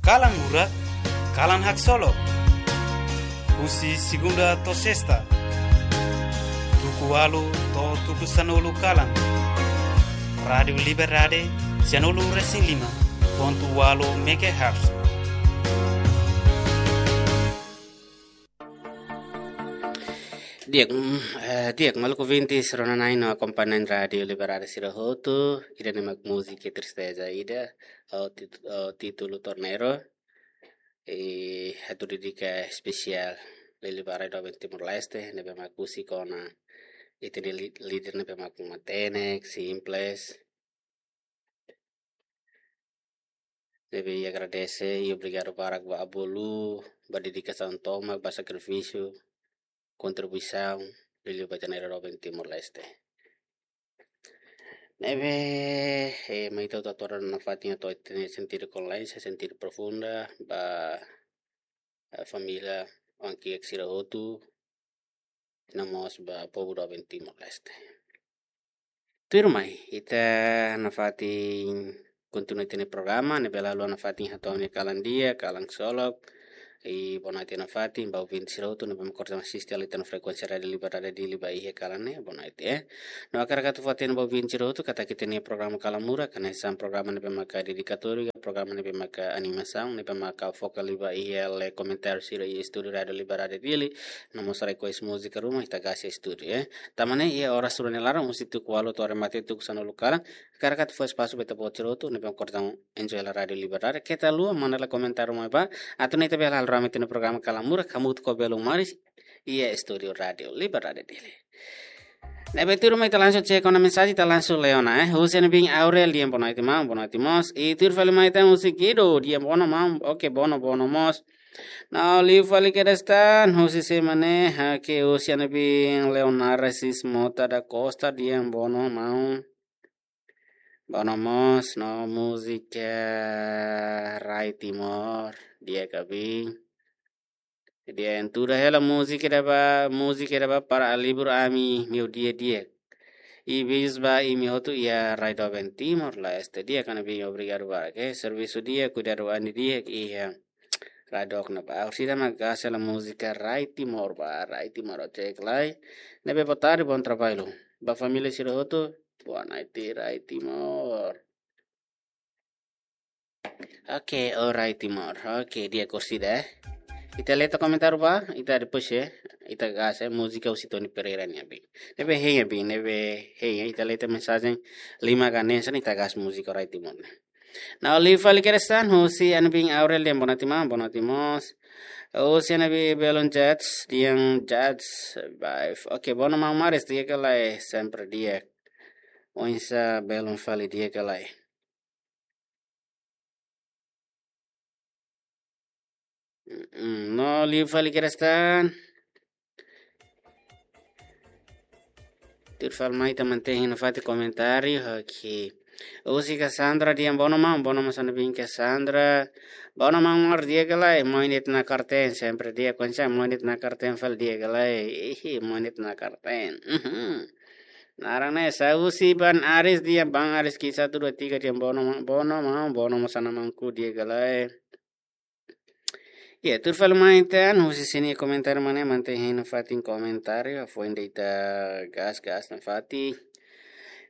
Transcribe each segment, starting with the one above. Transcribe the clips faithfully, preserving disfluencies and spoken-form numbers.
Kalan murak, kalan haksolok. Husi segunda to'o sesta, tuku ualu to'o tuku sanulu kalan. Rádiu Liberdade, sanulu resin lima pontu ualu megahertz. Di'ak, mm, eh, di'ak, maluk ouvintes rona-na'in no akompañante Rádiu Liberdade sira hotu, ida-ne'e mak múzika Tristeza ida, ho tit-, ho títulu Torneiro, i atu dedika espesiál liuliu ba rai doben Timor-Leste, ne'ebé mak husik ona ita-nia lí-, líder ne'ebé mak matenek, simples, ne'ebé ita agradese i obrigadu barak ba bolu, ba dedikasaun tomak, ba sakrifísiu, kontribuisaun, liuliu ba ita-nia rai doben Timor-Leste. Ne'ebé, eh, mai ita atu hato'o nafatin atu ita-nia sentidu kondolénsia, sentidu profunda, ba, eh, família, oan-kiak sira hotu, no mós ba povu doben Timor-Leste. Tuir mai, ita nafatin kontinua ita-nia programa, ne'ebé la haluha nafatin hato'o nia kalan di'ak, kalan haksolok, i boa noite nafatin ba ouvinte sira hotu, ne'ebé mak orsida asiste hela ita-nia frekuénsia Rádiu Liberdade Dili ba iha kalan ne'e, boa noite, eh. No hakarak atu fó-hatene ba ouvinte sira hotu, katak ita-nia programa Kalan Murak, hanesan programa ne'ebé maka dedikatóriu, programa ne'ebé maka animasaun, ne'ebé maka foka liu ba iha lee komentáriu sira iha estúdiu Rádiu Liberdade Dili, no mós request múzika ruma, ita gás iha estúdiu, eh. Tanba ne'e, iha oras rua nia laran, husi tuku ualu to'o remate tuku sanulu kalan, hakarak atu fó espasu ba ita-boot sira hotu, ne'ebé mak orsida enjoy hela Rádiu Liberdade, keta haluha, manda lai komentáriu mai ba, atu nune'e ita bele halo rame ita-nia programa Kalan Murak, hamutuk ho belun maris, iha estúdiu Rádiu Liberdade Dili. Ne'ebé tuir mai ita langsung cek ona mensajen, ita langsung lee ona, eh. Husi Ana Bin Aurel, di'ak, boa noite, maun, boa noite mós. I tuir fali mai ita husi Guido, di'ak, boa noite, maun. Oke, boa noite, boa noite mós. No liu fali kedas tan, husi sé mak ne'e, oke, husi Ana Bin Leonardo Sis Mota da Costa, di'ak, boa noite, maun. Boa noite mós, no múzika Rai Timor, di'ak, Ana Bin. Di'ak, entuda hela múzika ida ba, múzika ida ba para alivia ami-nia dia-dia. I bis ba imi hotu iha rai doben Timor-Leste. Di'ak, Ana Bin, obrigadu barak, eh. Servisu di'ak, kuidadu an di'ak iha rai dook ne'ebá. Orsida mak gás hela múzika Rai Timor ba, Rai Timor, oke, cek lai. Ne'ebé boa tarde, bom trabalho. Ba família sira hotu, boa noite, Rai Timor. Oke, o Rai Timor. Oke, di'ak, orsida, eh. Ita lee tiha komentáriu ba, ita depois, eh, ita gás, eh, múzika husi Tony Pereira nian, Ana Bin. Ne'ebé hein, Ana Bin, ne'ebé hein, ita lee tiha mensajen lima ka neen, ita gás múzika Rai Timor ne'e. No liu fali kedas tan, husi Ana Bin Aurel, di'ak, boa noite, maun, boa noite mós. Husi Ana Bin Belun Jats, di'ak, Jats, bye. Oke, boa noite, maun Maris, di'ak ka lae, sempre di'ak. Oinsá belun fali, di'ak ka lae. Mm, no liu fali kedas tan. Tuir fali mai ita mantein nafatin komentáriu, oke. Husi Cassandra, di'ak, boa noite, maun, boa noite mós Ana Bin Cassandra. Boa noite, maun Mar, di'ak ka lae, moin ita nakarten, sempre di'ak, oinsá moin ita nakarten fali, di'ak ka lae, ihi, moin ita nakarten. Mhm. Naran ne'e, husi Ban Aris, di'ak, Ban Aris Ki satu dua tiga, di'ak, boa noite, maun, boa noite, maun, boa noite mós Ana Manku, di'ak ka lae. Ya, tuir fali mai tan, husi sini komentáriu mak ne'e, mantein hein nafatin komentáriu, hafoin ida ita gás, gás nafatin.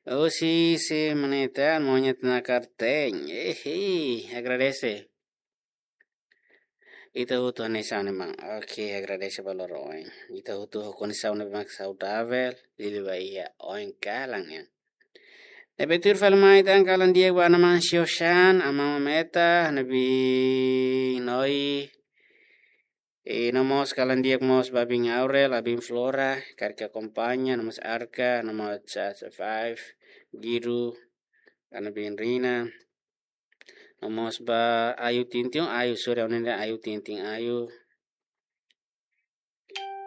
Husi sé mak ne'e tan, moin ita nakarten. Ehe, agradese. Ita hotu hanesan ne'e, maun. Oke, agradese ba loro oin. Ita hotu ho kondisaun ne'ebé mak saudavel, liuliu ba iha oin kalan nian. Ne'ebé tuir fali mai tan kalan di'ak ba Ana Mansio Shan, Aman Mameta, Ana Bin Noi. I no mós kalan di'ak mós ba Bin Aurel, Abin Flora, karik akompaña, no mós Arka, no mós Charles Five, Giru, Ana Bin Rina. No mós ba Ayu Tintin, Ayu, sorry, ha'u-nia Ayu Tintin, Ayu.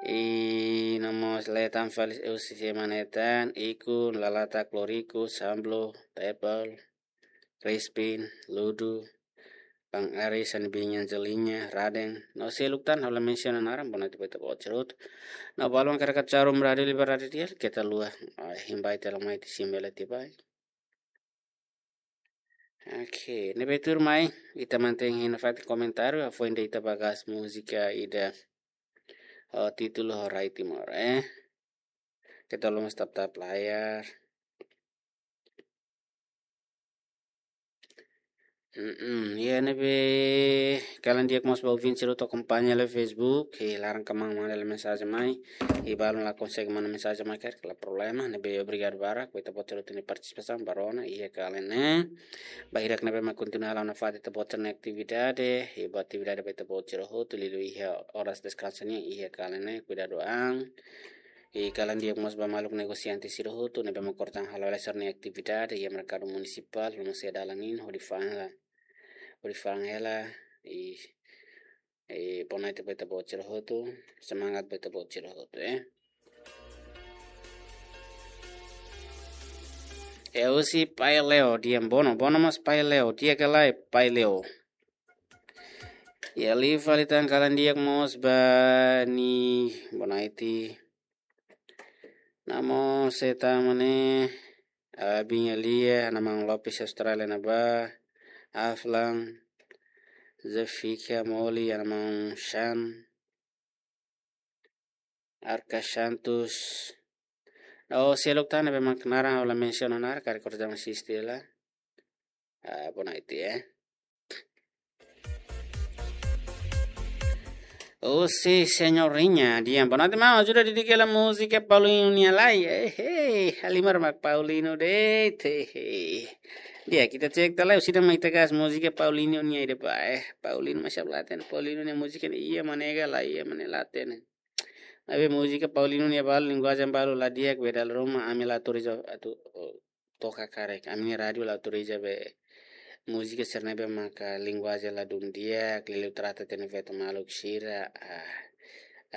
I no mós lee tan fali husi sé mak ne'e tan, Iku, Lalata, Kloriku, Samblo, Tepel, Crispin, Ludu, Bang Aris, Ana Bin, Angelina, Raden. No seluk tan, ha'u la mensiona naran, boa noite ba ita-boot sira hotu. No balu mak hakarak haruka Rádiu Liberdade Dili, keta haluha, ah, hein ba ita, la mai ita simu hela tiha ba. Oke, ne'ebé tuirmai, ita mantein iha nafatin komentáriu, hafoin de'it ita ba gas múzika ida, oh, títulu Rai Timor, eh. Kita lomos tap-tap layar. Mm-mm, ya ne'ebé kalan di'ak mós ba ouvinte sira hotu akompaña iha Facebook, i laran kmaan manda mensajen mai, i balu la konsege manda mensajen mai karik la problema, ne'ebé obrigadu barak ba ita-boot sira hotu nia partisipasaun ba rona iha kalan ne'e. Ba hirak ne'ebé mak kontinua halo nafatin ita-boot sira-nia atividade, i boa atividade ba ita-boot sira hotu, liuliu iha oras deskansa nian iha kalan ne'e, kuidadu an. I kalan di'ak mós ba maluk negosiante sira hotu ne'ebé mak orsida halo hela sira-nia atividade iha merkadu munisipál, lomos iha dalan ne'e, hodi fa'an hela, hodi fa'an hela, i, i boa noite ba ita-boot sira hotu, semangat ba ita-boot sira hotu, eh. E husi Pai Leo, di'ak, boa noite, boa noite mós Pai Leo, di'ak ka lae Pai Leo. Ya liu fali tan kalan di'ak mós ba nia, boa noite. Namo seta mane, abin alia, ana maun Lopes Austrália ne'ebá, Aflan, Zefika Moli, ana maun Shan, Arca Santos. Oh, seluk tan ne'ebé mak naran ha'u la mensiona naran, karik orsida asiste hela. Ah, boa noite, eh. Oh, si, senhorinha, di'ak, boa noite, maun, ajuda dedika hela múzika Paulinho nian lai, eh, eh, halimar mak Paulinho de'it, eh, eh. Di'ak, ita cek tiha lai, orsida mak ita gas múzika Paulinho nian ida ba, eh, Paulinho, masya Allah, ten Paulinho nia múzika ne'e, iha mane ka lae, iha mane laten. Maibé múzika Paulinho nia balu, linguajen balu la di'ak, be dala ruma, ami la autoriza atu, oh, toka karik. Ami-nia rádiu la autoriza be múzika sira ne'ebé maka linguajen ladún di'ak, liuliu trata tiha ona feto maluk sira, ah,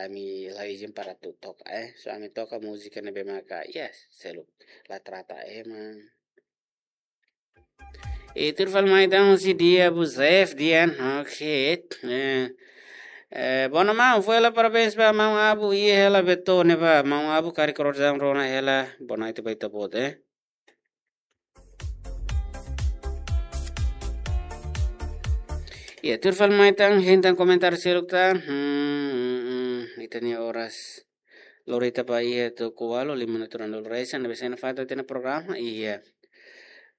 ami la izin para atu toka, eh. So ami toka múzika ne'ebé maka, yes, seluk la trata ema. I tuir fali mai tan husi Dia Abu Zef, di'ak, oke. Eh, eh, boa noite maun, fó hela parabéns ba maun Abu, iha hela Beto ne'ebá, maun Abu karik orsida rona hela, boa noite ba ita-boot, eh. Ya, tuir fali mai tan, hein tan komentáriu seluk tan. Hmm, hmm, hmm, ita-nia oras lori ita ba iha tuku ualu, lima minutu rua-nulu resin, ne'ebé sai nafatin ita-nia programa, iha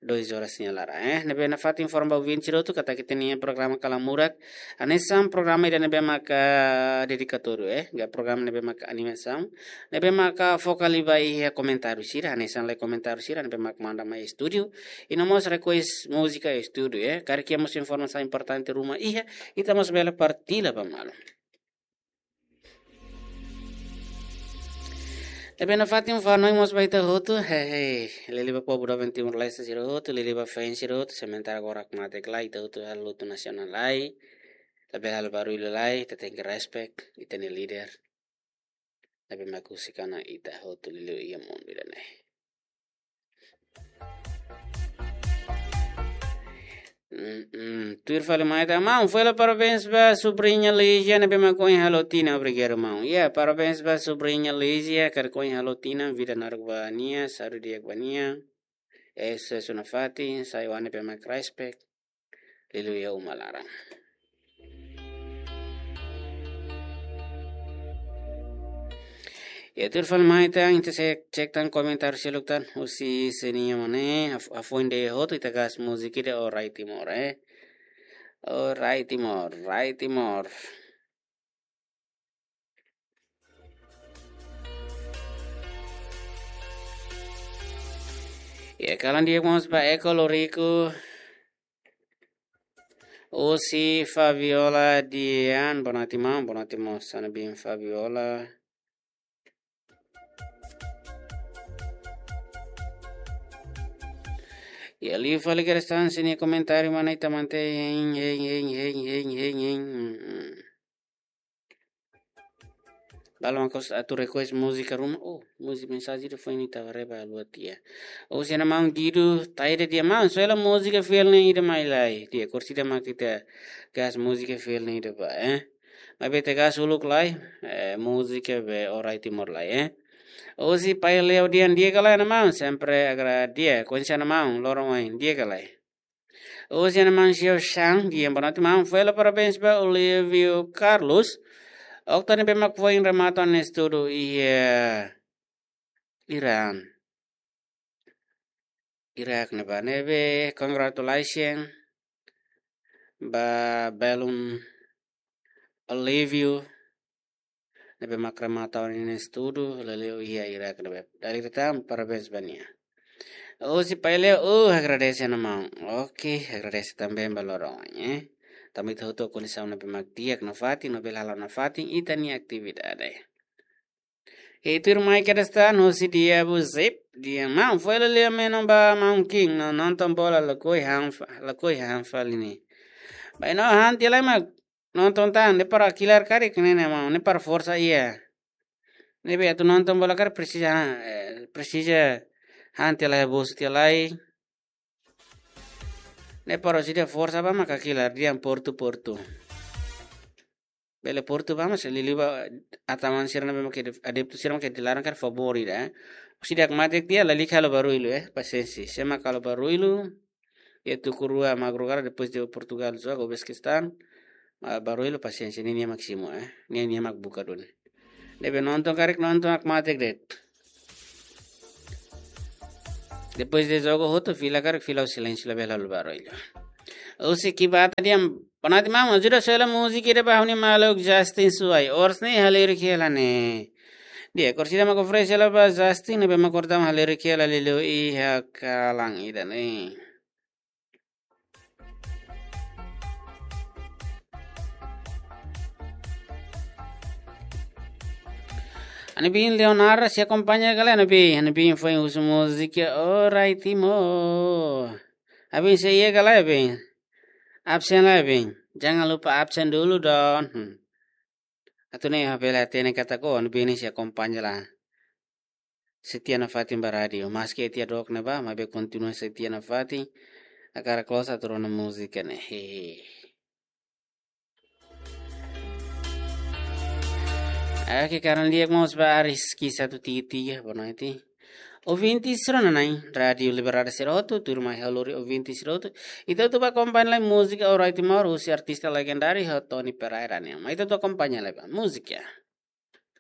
dois horas nia laran, eh. Ne'ebé nafatin informa ba ouvinte sira hotu katak ita-nia programa Kalan Murak, hanesan programa ida ne'ebé maka dedikatóriu, eh, ka programa ne'ebé maka animasaun, ne'ebé maka foka liu ba iha komentáriu sira, hanesan lee komentáriu sira ne'ebé maka manda mai estúdiu, i no mós request múzika estúdiu, eh. Karik iha mós informasaun importante ruma iha, ita mós bele partilla ba malu. Ne'ebé nafatin fó hanoin mós ba ita hotu, hehe, liuliu ba povu doben Timor-Leste sira hotu, liuliu ba fans sira hotu, sementara agora mak mate kla ita hotu halo lutu nasionál lai, labele halo barullu lai, ita tenke respect ita-nia líder. Ne'ebé mak husik ona ita hotu liuliu iha mundu ida-ne'e. Mm, mm. Tuir fali mai tan, maun, fó hela parabéns ba subriña Lígia ne'ebé mak ohin halo tinan, obrigadu maun. Ya, parabéns ba subriña Lígia, karik ohin halo tinan, vida naruk ba nia, saúde di'ak ba nia. Ese suna fatin, sai wan ne'ebé mak respect. Liuliu iha uma laran. Ya, tuir fali mai tan, ita cek, cek tan komentáriu seluk tan, husi sira-nia mane, haf-, hafoin de'it hotu ita gas múzika ida, O Rai Timor, eh. O Rai Timor, Rai Timor. Ya, kalan di'ak mós ba Eko Loriku. Husi Fabiola Dian, boa noite maun, boa noite mós, sana bin Fabiola. Ya, liu fali kedas tan sira-nia komentáriu, mana ita mantein, hein, hein, hein. Mm, mm. Balu mak orsida atu request múzika ruma. Oh, múzika mensajen ida foin ita haree ba lua tiha. Oh, sira-nia maun Guido, taida di'ak maun, só hela múzika fiel ne'e ida mai lai. Di'ak, orsida mak ita gas múzika fiel ne'e ida ba, eh. Maibé ita gas uluk lai, eh, múzika be O Rai Timor lai, eh. Husi Pai Leo Dian, di'ak ka lae, ana maun, sempre agrada, di'ak, koñese ana maun, loron oin, di'ak ka lae. Husi Ana Mansio Shang, di'ak, boa noite maun. Foin halo parabéns ba Olívio Carlos. Okta ne'ebé mak foin remata estudu iha Iran. Irak ne'ebá, ne'ebé congratulations ba belun Olívio ne'ebé mak remata ona ninia estudu, liuliu iha Irak ne'ebá. Dala ida tan, parabéns ba nia. Husi Pai Leo, uh, agradese ona maun. Oke, agradese tanba ba loron, eh. Tanba ita hotu kondisaun ne'ebé mak di'ak nafatin, no bele halo nafatin ita-nia atividade. Itu rumah kedestan, husi dia bu zip, di'ak maun, foin halo lia menu ba maun King, no nonton bola lakohi han fa-, lakohi han fali ne'e. Bainhira han tiha lai mak nonton tan, ne'e para kilar karik ne'e, ne'e maun, ne'e para forsa iha. Ne'ebé atu nonton bola karik presiza, eh, presiza han tiha lai, bosu tiha lai. Ne'e para sida forsa ba maka kilar, di'ak, Portu, Portu. Bele Portu ba, mas liuliu ba ataman sira ne'ebé mak adeptu sira mak dilarang karik favór ida, eh. Sida mak mate tiha, lalika halo barullu, eh, pasiénsia. Sé mak halo barullu, iha tuku rua madrugada depois de Portugal joga ho Uzbekistan, ah, barullu, pasiénsia, ninia mak simu, eh. Ninia mak buka duni. Ne'ebé nonton karik nonton, mak mate de'it. Depois de jogu hotu, fila karik fila ho silénsiu, labele halo barullu. Husi Kibata, di'ak, boa noite maun, ajuda sela múzika ida ba ha'u-nia maluk Justin Suai. Oras ne'e halerik hela ne'e. Di'ak, orsida mak oferese hela ba Justin, ne'ebé mak orsida halerik hela liuliu iha kalan ida-ne'e. Ana bin Leonardo sei akompaña ka lae, ana bin, ana bin foin husu múzika Orai Timor. Ana bin sei iha ka lae, bin? Absen lae, bin? Jangan lupa absen dulu, Don. Hmm. Atu nune'e ha'u bele hatene katak ana bin sei akompaña lai. Setia nafatin ba rádiu. Maski iha dook ne'ebá, maibé kontinua setia nafatin. Hakarak loos atu rona múzika ne'e. Hehe. Oke, kalan di'ak mós ba Aris Ki satu tiga tiga, boa noite. Ouvinte sira-ne'e, Rádiu Liberdade sira hotu, tuirmai ha'u lori ouvinte sira hotu. Ita atu akompaña lai múzika Orai Timor, husi artista legendáriu, Tony Pereira ne'e. Mai ita atu akompaña lai ba múzika.